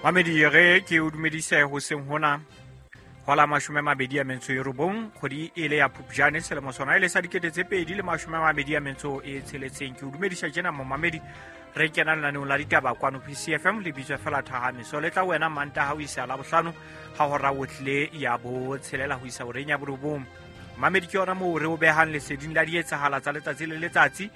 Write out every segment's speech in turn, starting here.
Mamedi re ke o dumedise hoseng hona hola 29 kgwedi e le ya Phupjane selemo sona e le sa 2026. Ke o dumedisa tjena momamedi, re kena lenaneong la ditaba kwano PCFM le bitswa fela Thahamiso le tla wena Mantaha ho isa Labohlano ha hora otlile ya 6 ho isa horeng ya 9. Mamedi ke yona moo re o behang leseding la dietsahala tsa letsatsi le letsatsi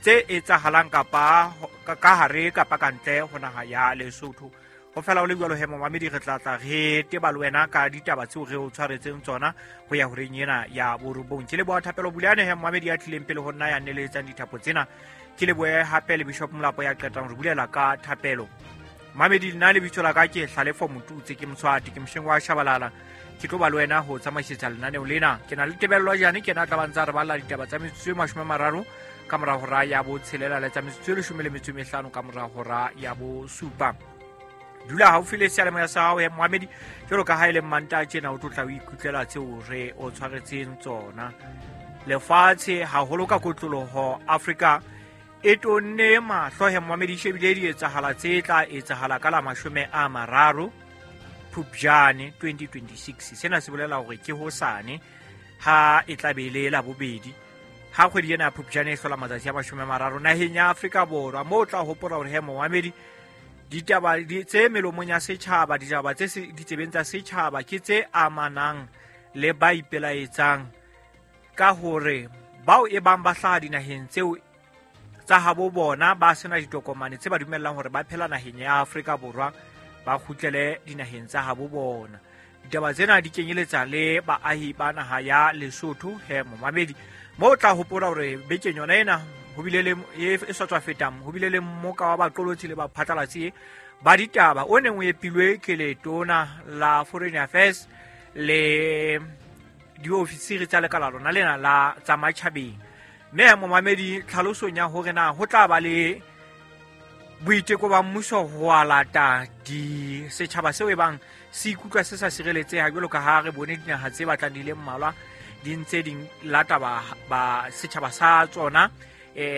tse etsahalang kapa ka hare kapa kantle ho naha ya Lesotho. Ho fela o le jwalo he momamedi, re tla tla re teba le wena ka ditaba tseo re o tshwaretseng tsona ho ya horeng ena ya 9. Ke leboha Thapelo Buleane he momamedi ya tlileng pele ho nna ya neletsang dithapo tsena. Ke lebohe hape le Bishop Molapo ya qetang re bulela ka thapelo. Mamedi, nna lebitso la ka ke Hlalefo Motutse, ke Moswati, ke mosheng wa Shabalala. Ke tlo ba le wena ho tsamaisetsa lenaneo lena. Ke na le Tebello Jane, ke na tla ba ntsa re balla ditaba tsa metsotso e 30 ka mora hora ya 6 le tsa metsotso e 15 ka mora hora ya 7. Dula haufi le seyalemoya sa hao ya Mohamedi, jwalo ka ha e le Mmantaha tjena o tlo tla o ikutlwela tseo re o tshwaretseng tsona. Lefatshe haholo ka kotloloho Afrika e tonne mahlo he Mohamedi, shebile dietsahala tse tla etsahala ka la 30 Phupjane 2026. Sena se bolela hore ke hosane ha e tla be le la bobedi ha kgwedi ena ya Phupjane e hlola matsatsi a 30 naheng ya Afrika Borwa. Moo o tla hopola hore he Mohamedi, ditaba tse melomong ya setjhaba, ditaba tse ditsebeng tsa setjhaba ke tse amanang le ba ipelaetsang ka hore bao e bang ba hlaha dinaheng tseo tsa habo bona ba sena ditokomane tse ba dumellang hore ba phela naheng ya Afrika Borwa, ba kgutlele dinaheng tsa habo bona. Ditaba tsena di kenyeletsa le baahi ba naha ya Lesotho he momamedi. Moo o tla hopola hore bekeng yona ena ho bile le e sa tswa fetang, ho bile le mmoka wa baqolotsi le baphatlalatsi ba ditaba o neng o epilwe ke letona la Foreign Affairs le diofisiri tsa lekala lona lena la tsa matjhabeng. Mme momamedi, tlhalosong ya hore na ho tla ba le boiteko ba mmuso ho alata di setjhaba seo e bang se ikutlwa se sa sireletseha, jwalo ka ha re bone dinaha tse batlang di le mmalwa di ntse di lata ba setjhaba sa tsona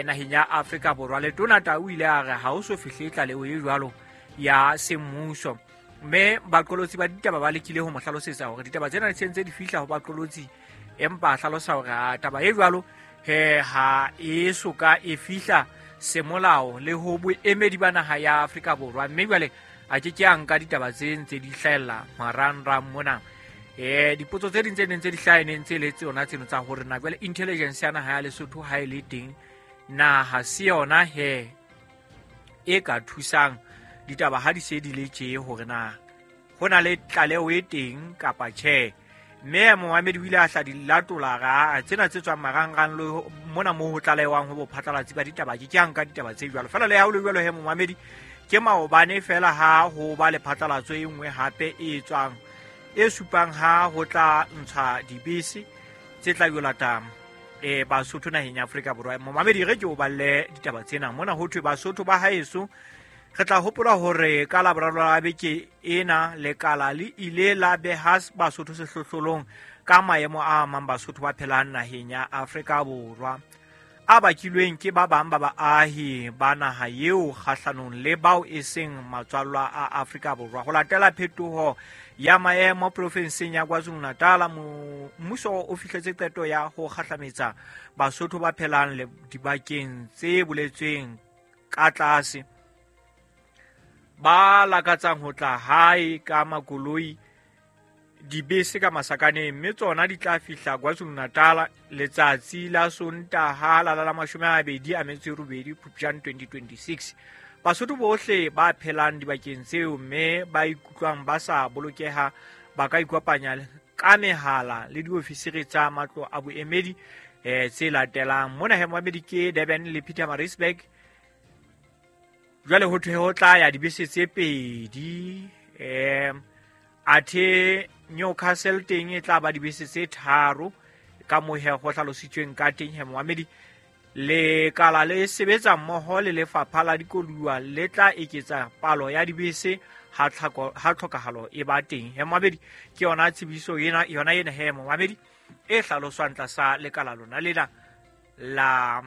naheng ya Afrika Borwa. Letona Tau o ile a re ha ho so fihle tlaleho e jwalo ya semmuso, mme baqolotsi ba ditaba ba lekile ho mo hlalosetsa hore ditaba tsena di sentse di fihla ho baqolotsi, empa a hlalosa hore taba e jwalo he ha e soka e fihla semolao le ho boemedi ba naha ya Afrika Borwa, mme jwale a ke ke a nka ditaba tse ntse di hlahella marangrang mona. Dipotso tse ding tse neng tse di hlaha neng tse le tsona tseno tsa hore na jwale intelligence ya naha ya Lesotho ha e le teng, na ha se yona he e ka thusang ditaba ha di se di le tje hore na ho na le tlaleho e teng kapa tjhe. Mme momamedi o ile a hla di latola ra tsena tse tswang marangrang le mona moo ho tlalehwang ho bophatlalatsi ba ditaba, ke ke a nka ditaba tse jwalo fela. Le ha ho le jwalo he momamedi, ke maobane fela ha ho ba le phatlalatso e nngwe hape e tswang e supang ha ho tla ntshwa dibese tse tla yo lata Basotho naheng ya Afrika Borwa. Momamedi, re ke o balle ditaba tsena mona. Ho thwe Basotho ba haeso, re tla hopola hore ka Laboraro la beke ena lekala le ile la beha Basotho sehlohlolong ka maemo a amang Basotho ba phelang naheng ya Afrika Borwa, a bakilweng ke ba bang ba baahi ba naha eo kgahlanong le bao e seng matswallwa a Afrika Borwa. Ho latela phetoho ya maemo profenseng ya KwaZulu-Natal, mmuso o fihletse qeto ya ho kgahlametsa Basotho ba phelang le dibakeng tse boletsweng ka tlase, ba lakatsang ho tla hae ka makoloi, dibese ka masakaneng, mme tsona di tla fihla KwaZulu-Natal letsatsi la Sontaha la la 28 Phupjane 2026. Basotho bohle ba phelang dibakeng tseo mme ba ikutlwang ba sa bolokeha ba ka ikopanya ka mehala le diofisiri tsa matlo a boemedi tse latelang. Mona he moemedi ke Durban le Pietermaritzburg. Jwale ho thwe ho tla ya dibese tse pedi, athe Newcastle teng e tla ba dibese tse 3 ka mohe ho hlalositsweng ka teng he moamedi. Lekala le sebetsa mmoho le lefapha la dikoluwa le tla eketsa palo ya dibese ha tlhokahalo e ba teng. He moamedi, ke yona tsebiso ena, yona ena he moamedi e hlaloswang tlasa lekala lona lena la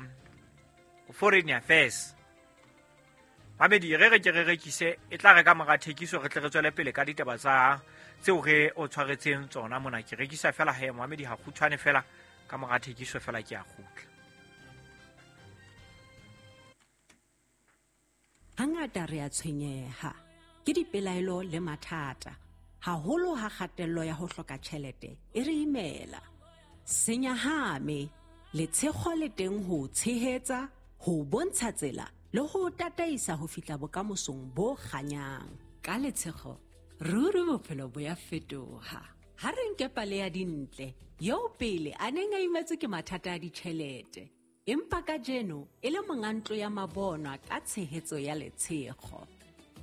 Foreign Affairs. Mamedi, re re ke re rekise, e tla re ka mora thekiso re tle re tswele pele ka ditaba tsa tseo re o tshwaretseng tsona mona. Ke rekisa fela he Mohamedi, ha kgutshwane fela, ka mora thekiso fela ke a kgutla. Hangata re a tshwenyeha ke dipelaelo le mathata, haholo ha kgatello ya ho hloka tjhelete e re imela. Senyahame, letshego le teng ho tshehetsa, ho bontsha tsela le ho tataisa ho fihla bokamosong bo kganyang. Ka letshego, ruri bophelo bo ya fetoha. Ha re nke pale ya Dintle, eo pele a neng a imetswe ke mathata a ditjhelete, empa kajeno e le monga ntlo ya mabonwa ka tshehetso ya letshego.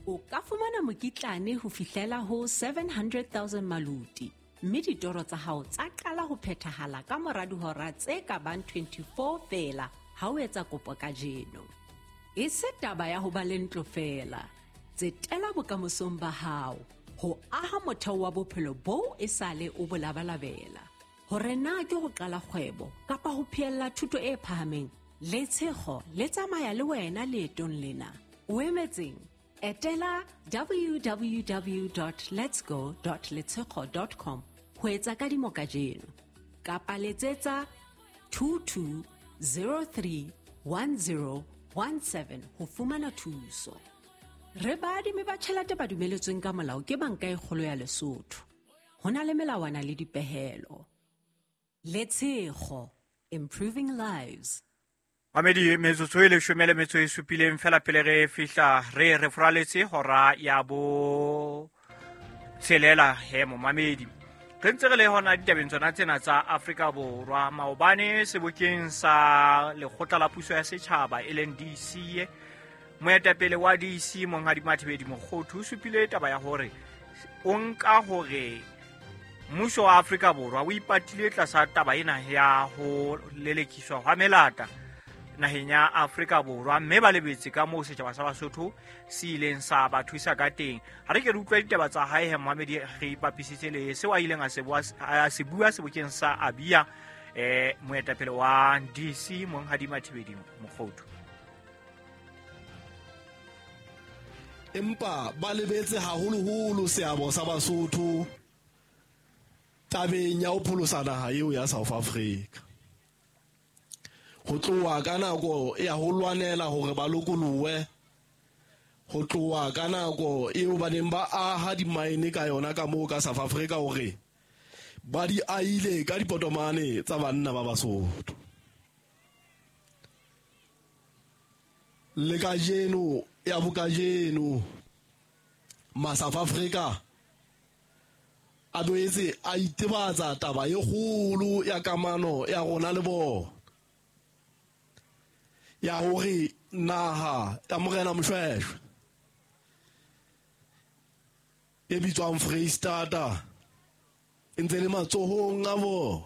O ka fumana mokitlane ho fihlela ho 700,000 maluti, mme ditoro tsa hao tsa qala ho phethahala ka mora dihora tse ka bang 24 feela ha o etsa kopo kajeno. E se taba ya ho ba le ntlo feela, tsetela bokamosong ba hao, ho aha motheo wa bophelo boo e sale o bo labalabela. Hore na ke ho qala kgwebo kapa ho phehella thuto e phahameng, letshego le tsamaya le wena leetong lena. O emetseng? Etela www.letsgo.letshego.com ho etsa kadimo kajeno, kapa letsetsa 22031017 ho fumana thuso. Re baadimi ba tjhelete ba dumeletsweng ka molao ke Banka e Kgolo ya Lesotho. Ho na le melawana le dipehelo. Letshego, improving lives. Mamedi, metsotso e 17 fela pele re fihla re re foraletse hora ya bo tshelela he momamedi. Re ntse re le hona ditabeng tsona tsena tsa Afrika Borwa. Maobane sebokeng sa lekgotla la puso ya setjhaba e leng DC, moetapele wa DC Monghadi Mathibedi Mokhothu o supile taba ya hore o nka hore mmuso wa Afrika Borwa o ipatile tlasa taba ena ya ho lelekiswa hwa melata naheng ya Afrika Borwa, mme ba lebetse ka moo setjhaba sa Basotho se ileng sa ba thusa ka teng. Ha re ke re utlwa ditaba tsa hae he Mohamedi, re ipapisitse le seo a ileng a se bua sebokeng sa Abia, moetapele wa DC Monghadi Mathibedi Mokhothu. Empa ba lebetse haholoholo seabo sa Basotho tabeng ya ho pholosa naha eo ya South Africa. Ho tloha ka nako ya ho lwanela hore ba lokolohe, ho tloha ka nako eo ba neng ba aha dimaene ka yona ka moo ka South Africa, hore ba di ahile ka dipotomane tsa banna ba Basotho. Le kajeno ya bokajeno ma South Africa a boetse a itebatsa taba e kgolo ya kamano ya rona le bona, ya hore naha ya Morena Moshoeshoe e bitswang Freistata e ntse le matsohong a bona,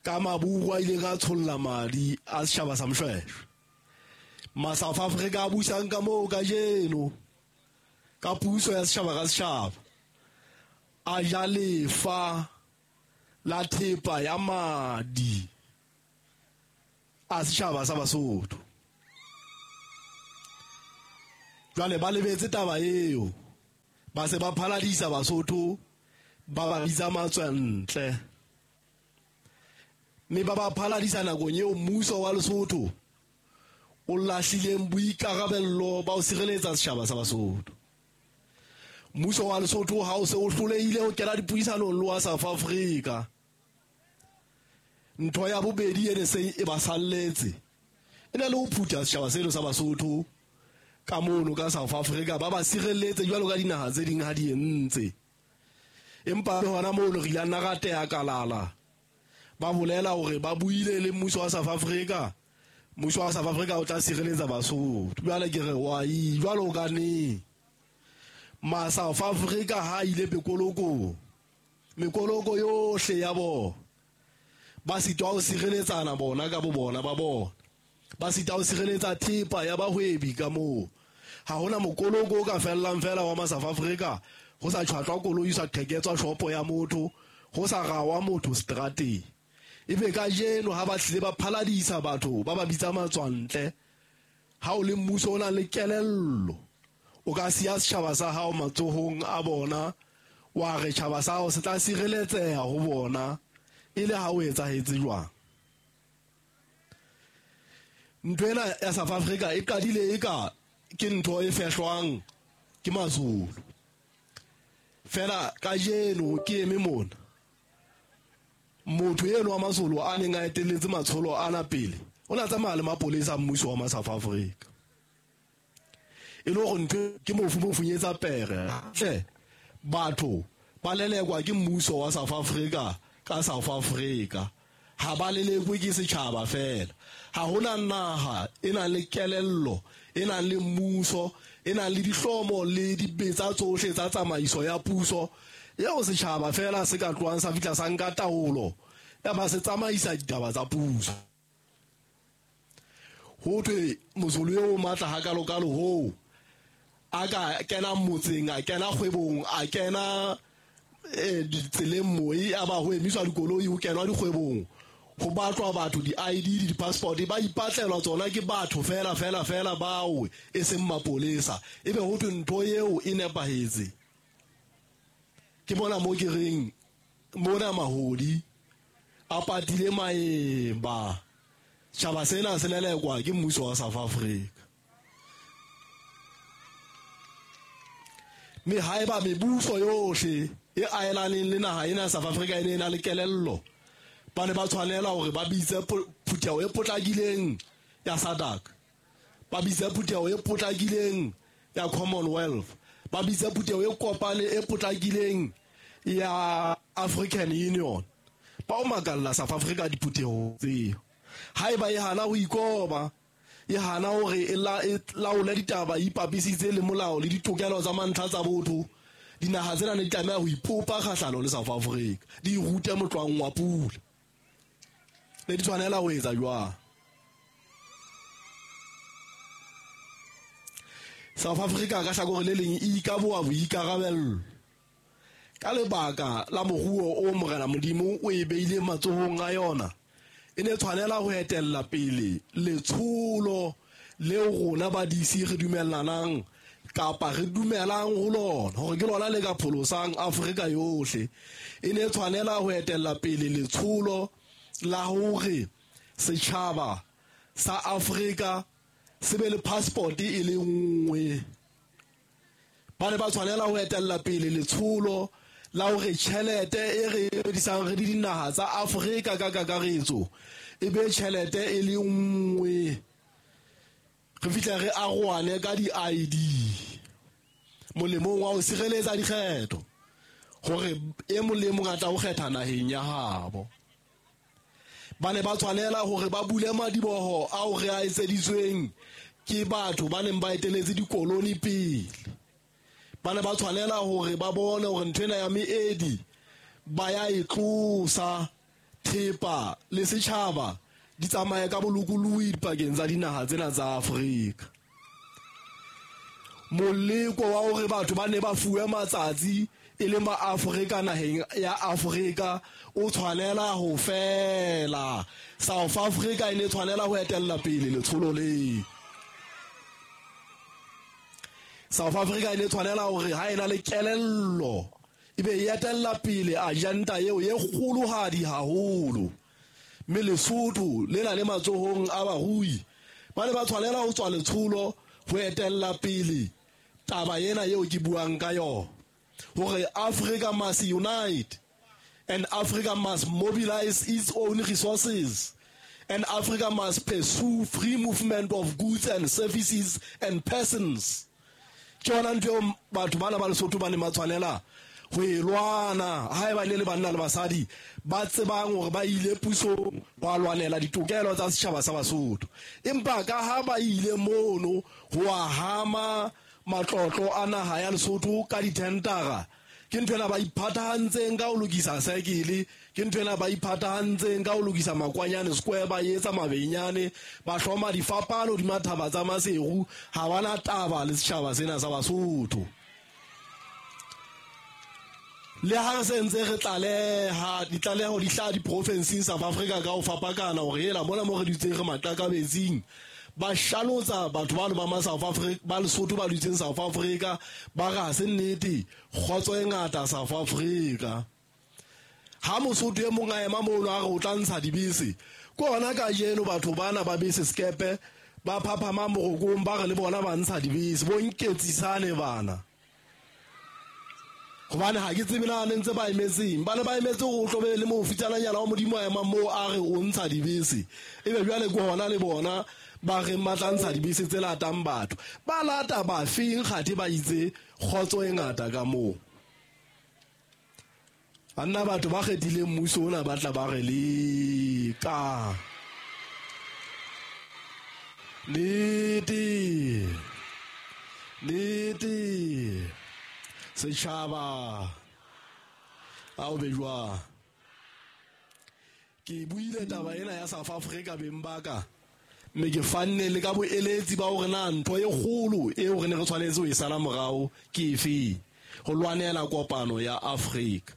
ka maburu a ileng a tsholla madi a setjhaba sa Moshoeshoe. Ma South Africa a busang ka moo kajeno ka puso ya setjhaba ka setjhaba, a ja lefa la thepa ya madi a setjhaba sa Basotho. Jwale ba lebetse taba eo, ba se ba phaladisa Basotho, ba ba bitsa matswantle, mme ba ba phaladisa nakong eo mmuso wa Lesotho o lahlileng boikarabello ba ho sireletsa setjhaba sa Basotho. Mmuso wa Lesotho ha o se o hlolehile ho kena dipuisanong le wa South Africa, ntho ya bobedi e ne seng e ba salletse e ne le ho phutha setjhaba seno sa Basotho ka mono ka South Africa, ba ba sireletse jwalo ka dinaha tse ding ha di entse. Empa le hona mono re ile nna ra teya kalala, ba bolela hore ba buile le mmuso wa South Africa, mmuso wa South Africa o tla sireletsa Basotho. Jwale ke re wa jwalo ka neng ma South Africa ha ile mekoloko, mekoloko yohle ya bona ba sitwa ho sireletsana bona ka bo bona ba bona, ba sitwa ho sireletsa thepa ya bahwebi ka moo. Ha hona mokoloko o ka fellang fela wa ma South Africa ho sa tjhwatlwa koloi, sa qheketswa shopo ya motho, ho sa rawa motho strateng. Ebe kajeno ha ba tlile ba phaladisa batho ba ba bitsa matswantle, Ha o le mmuso o nang le kelello, o ka siya setjhaba sa hao matsohong a bona, wa re tjhaba sa hao se tla sireletseha ho bona, e le ha o etsahetse jwang? Ntho ena ya South Africa e qadile eka ke ntho e fehlwang ke Mazulu. Fela kajeno ke eme mona, motho eno wa Mazulu a neng a etelletse matsholo ana pele, o ne a tsamaya le mapolesa a mmuso wa ma South Africa. E le hore ntho ke mofu mo funyetsa pere. Hle, batho ba lelekwa ke mmuso wa South Africa ka South Africa. Ha ba lelekwe ke setjhaba fela. Ha hona naha e nang le kelello, e nang le mmuso, e nang le dihlomo le dibetsa tsohle tsa tsamaiso ya puso eo setjhaba fela se ka tlohang sa fihla sa nka taolo ya ba se tsamaisa ditaba tsa puso. Ho thwe Mozulu eo o matla hakalokalo hoo a ka kena motseng, a kena kgwebong, a kena ditseleng moi, a ba ho emiswa dikoloi, ho kenwa dikgwebong, ho batlwa batho di-ID le di-passport, ba ipatlelwa tsona ke batho fela fela fela bao e seng mapolesa. Ebe ho thwe ntho eo e nepahetse. Ke mona mo ke reng mona mahodi a patile maeba. Tjhaba sena se lelekwa ke mmuso wa South Africa. Mme haeba mebuso yohle e aelaneng le naha ena ya South Africa e ne e na le kelello, ba ne ba tshwanela hore ba bitse phutheho e potlakileng ya SADC, ba bitse phutheho e potlakileng ya Commonwealth, ba bitse phutheho e kopane e potlakileng ya African Union. Ba o makalla South Africa diphutheho tseo. Haeba e hana ho ikoba, e hana hore e laole ditaba, e ipapisitse le molao le ditokelo tsa mantlha tsa botho, dinaha tsena ne di tlameha ho ipopa kgahlano le South Africa, di rute motlwang wa pula. Ne di tshwanela ho etsa jwang? South Africa ka hlakore le leng e ikaboa boikarabello ka lebaka la moruo o Morena Modimo o e beileng matsohong a yona. E ne tshwanela ho etella pele letsholo leo rona ba DC re dumellanang kapa re dumelang ho lona hore ke lona le ka pholosang Afrika yohle. E ne tshwanela ho etella pele letsholo la hore setjhaba sa Afrika se be le passport e le nngwe. Ba ne ba tshwanela ho etella pele letsholo la hore tjhelete e re sebedisang re le dinaha tsa Afrika ka kakaretso e be tjhelete e le nngwe. Re fihle re arohane ka di-ID molemong wa ho sireletsa dikgetho hore e mong le e mong a tla ho kgetha naheng ya habo. Ba ne ba tshwanela hore ba bule madiboho ao re a etseditsweng ke batho ba neng ba eteletse dikoloni pele. Ba ne ba tshwanela hore ba bone hore ntho ena ya meedi ba ya e tlosa, thepa le setjhaba di tsamaye ka bolokolohi dipakeng tsa dinaha tsena tsa Afrika. Moleko wa hore batho ba ne ba fuwe matsatsi e leng ba Afrika naheng ya Afrika o tshwanela ho fela. South Africa e ne tshwanela ho etella pele letsholo le. South Africa e ne tshwanela hore ha e na le kelello e be e etella pele agenda eo e kgolohadi haholo. Mme Lesotho le na le matsohong a barui ba ne ba tshwanela ho tswa letsholo ho etella pele taba ena eo ke buang ka yona, hore Africa must unite and Africa must mobilize its own resources and Africa must pursue free movement of goods and services and persons. Ke yona ntho eo batho bana ba Lesotho ba neng ba tshwanela ho e lwana haeba ne le banna le basadi ba tsebang hore ba ile pusong ba lwanela ditokelo tsa setjhaba sa Basotho. Empa ka ha ba ile mono ho hama matlotlo a naha ya Lesotho ka dithendara, ke ntho ena ba iphathahantseng ka ho lokisa saekele, ke ntho ena ba iphathahantseng ka ho lokisa Makwanyane Square, ba etsa mabenyane, ba hloma difapano hodima thaba tsa Maseru. Ha ba na taba le setjhaba sena sa Basotho. Le ha re se ntse re tlaleha ditlaleho di hlaha diprofenseng South Africa ka ho fapakana hore hela mona mo re dutseng re maqakabetsing, Ba shalotsa batho bano ba ma South Africa, ba Lesotho ba dutseng South Africa, ba re ha se nnete, kgotso e ngata South Africa. Ha Mosotho e mong a ema mono a re o tla ntsha dibese, ke hona kajeno batho bana ba bese sekepe ba phaphama morokong ba re le bona ba ntsha dibese, bo nketsisane bana. Hobane ha ke tsebe na ne ntse ba emetseng, ba ne ba emetse hore o tlo be le mofitsananyana wa Modimo a emang moo a re o ntsha dibese. Ebe jwale ke hona le bona ba reng ba tla ntsha dibese tse latang batho. Ba lata ba feng kgathe ba itse kgotso e ngata ka moo. Banna batho ba kgethileng mmuso ona ba tla ba re leka. Nnete. Nnete. Setjhaba a o be jwang. Ke buile taba ena ya South Africa beng ba ka, mme ke fanne le ka boeletsi ba hore na ntho e kgolo eo re ne re tshwanetse ho e sala morao ke efe. Ho lwanela kopano ya Afrika,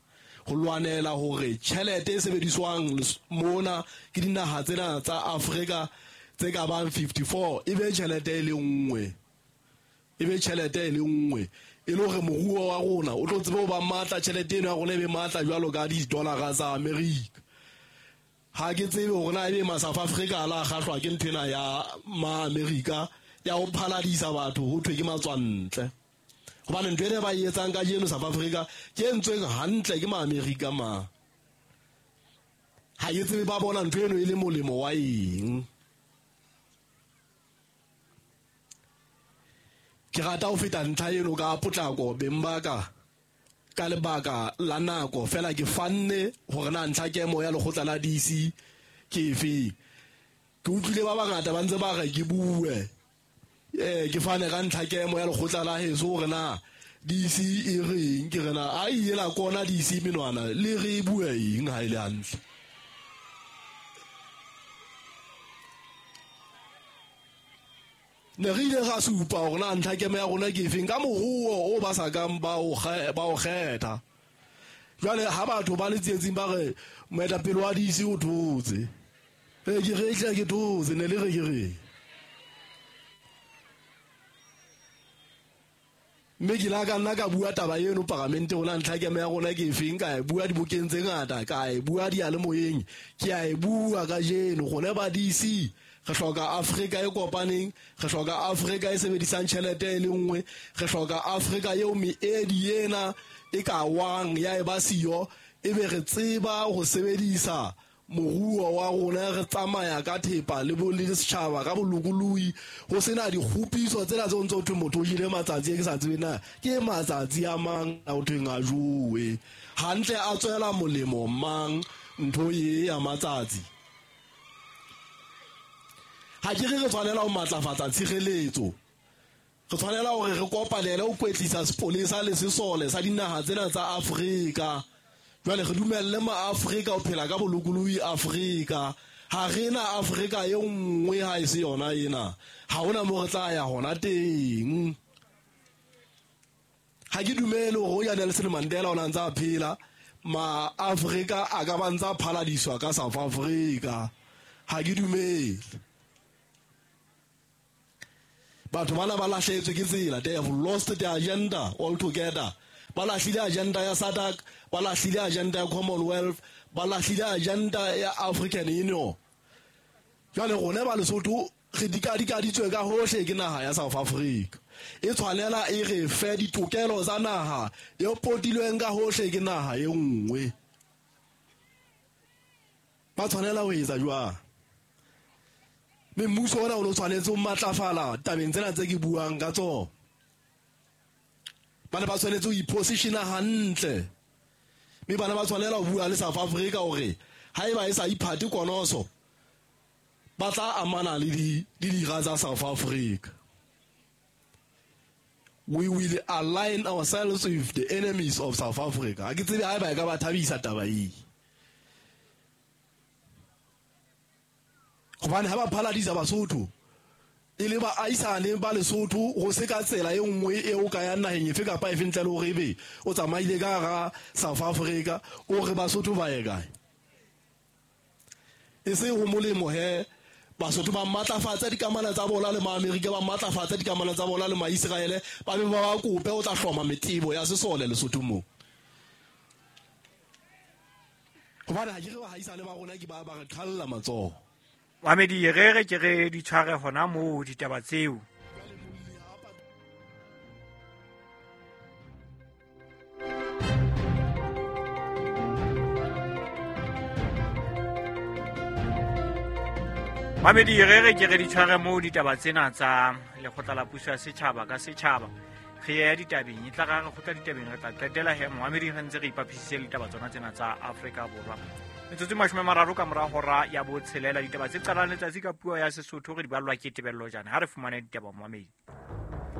ho lwanela hore tjhelete e sebediswang mona ke dinaha tsena tsa Afrika tse ka bang 54 e be tjhelete e le nngwe, e be tjhelete e le nngwe, e le hore moruo wa rona o tlo tsebe ho ba matla, tjhelete eno ya rona e be matla jwalo ka di-dollar tsa Amerika. Ha ke tsebe hore na ebe ma South Africa a la kgahlwa ke nthwena ya ma Amerika ya ho phaladisa batho ho thwe ke matswantle. Hobane ntho ena ba e etsang kajeno South Africa ke e entsweng hantle ke ma Amerika ma. Ha ke tsebe ba bona ntho eno e le molemo wa eng. Ke rata ho feta ntlha eno ka potlako beng ba ka, ka lebaka la nako fela ke fanne hore na ntlha kemo ya lekgotla la DC ke efe. Ke utlwile ba bangata ba ntse ba re ke bue, ke fane ka ntlha kemo ya lekgotla la heso hore na DC e reng. Ke re na a ile la kona DC menwana le re bue eng ha e le hantle. Ne re ile ra supa hore na ntlha kemo ya rona ke efeng ka moruo o ba sa kang ba o kgetha. Jwale ha batho ba le tsietsing ba re moetapele wa DC o thotse, ke re tle ke thotse, ne le re ke re. Mme ke la ka nna ka bua taba eno paramente hore na ntlha kemo ya rona ke efeng, ka e bua dibokeng tse ngata, ka e bua diyalemoyeng, ke a e bua kajeno. Rona ba DC re hloka Afrika e kopaneng, re hloka Afrika e sebedisang tjhelete e le nngwe, re hloka Afrika eo meedi ena e ka wang ya e ba siyo, ebe re tseba ho sebedisa moruo wa rona, re tsamaya ka thepa le bo le setjhaba ka bolokolohi, ho sena dikgopiso tsena tse ntse ho thwe motho o jele matsatsi e ke sa tsebe na ke matsatsi a mang a ho thweng a jowe hantle, a tswela molemo mang ntho e ya matsatsi. Ha ke re re tshwanela ho matlafatsa tshireletso, re tshwanela hore re kopanele ho kwetlisa sepolesa le sesole sa dinaha tsena tsa Afrika. Jwale re dumelle ma-Afrika ho phela ka bolokolohi Afrika. Ha re na Afrika e nngwe ha e se yona ena, ha hona moo re tla ya hona teng. Ha ke dumele hore o ya Nelson Mandela o na ntse a phela, ma-Afrika a ka ba ntse a phaladiswa ka South Africa. Ha ke dumele. Batho bana ba lahlehetswe ke tsela, they have lost their agenda altogether. Ba lahlile agenda ya SADC, ba lahlile agenda ya Commonwealth, ba lahlile agenda ya African Union. Jwale rona ba Lesotho re dikadikaditswe ka hohle ke naha ya South Africa. E tshwanela e re fe ditokelo tsa naha e potilweng ka hohle ke naha e nngwe. Ba tshwanela ho etsa jwang? Mme mmuso ona o no tshwanetse ho matlafala tabeng tsena tse ke buang ka tsona. Ba ne ba tshwanetse ho ipositiona hantle. Mme bana ba tshwanela ho bua le South Africa hore haeba e sa iphate konoso, ba tla amana le dira tsa South Africa. We will align ourselves with the enemies of South Africa. Ha ke tsebe haeba e ka ba thabisa taba ee. Hobane ha ba phaladisa Basotho e le baahisane ba Lesotho, ho se ka tsela e nngwe eo ka ya naheng efe kapa efe ntle le hore ebe o tsamaile ka hara South Africa, o re Basotho ba ye kae? E se ho molemo he Basotho ba matlafatsa dikamano tsa bona le Maamerika, ba matlafatsa dikamano tsa bona le Maiseraele, ba be ba ba kope o tla hloma metebo ya sesole Lesotho moo. Hobane ha ke re bahaisane ba rona ke ba ba re qhalla matsoho. Mamedi, re re ke re di tshware hona moo ditaba tseo. Mamedi, re re ke re di tshware moo ditaba tsena tsa lekgotla la puso ya setjhaba ka setjhaba. Re ya ditabeng, e tla ra re kgotla ditabeng, re tla qetela he momamedi re ntse re ipapisitse le ditaba tsona tsena tsa Afrika Borwa. Metsotso 30 ka mora hora ya botshelela, ditaba tse qalang letsatsi ka puo ya Sesotho re di ballwa ke Tebello Jane. Ha re fumane ditaba momamedi.